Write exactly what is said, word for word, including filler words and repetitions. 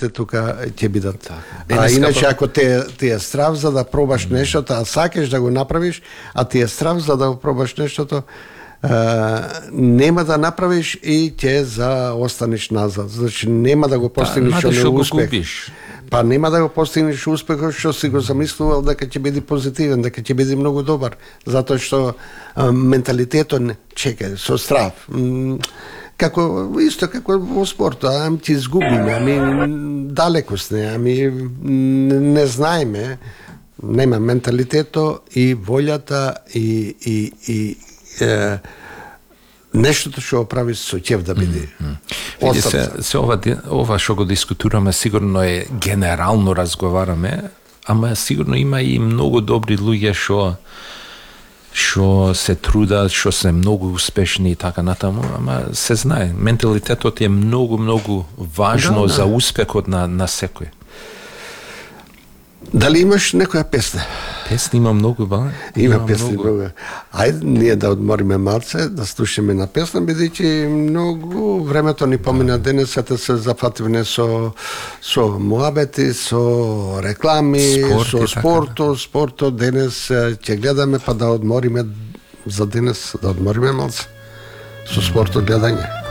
сите тука ќе бидат. А Денеска иначе па- ако те ти е страв за да пробаш нештото, а сакаш да го направиш, а ти е страв за да го пробаш нештото, Uh, нема да направиш и ќе за останеш назад. Значи нема да го постигнеш Па, што го успех. губиш. Па нема да го постигнеш успехот што си го замислувал дека ќе биде позитивен, дека ќе биде многу добар, затоа што а, менталитетот не чека со страв. М, како исто како во спортот, ами ти изгубиме, ами далеко сме, ами не, не знаеме, нема менталитето и волјата и и и е, нештото што го прави со ќев да биде. Види се, се ова, ди- ова што го дискутираме сигурно е генерално разговараме, ама сигурно има и многу добри луѓе што што се трудат, што се многу успешни и така натаму, ама се знае, менталитетот е многу многу важно Да, да. за успехот на на секој. Дали имаш некоја песна? Песни има многу, ба? Има песни многу. Ајде ние да одмориме малце, да слушаме на песна, бидејќи многу времето ни помина денес, ете се зафативме со со муабети, со реклами, Спорт и со така, спортот, спортот денес е, ќе гледаме па да одмориме за денес, да одмориме малце со спортот гледање.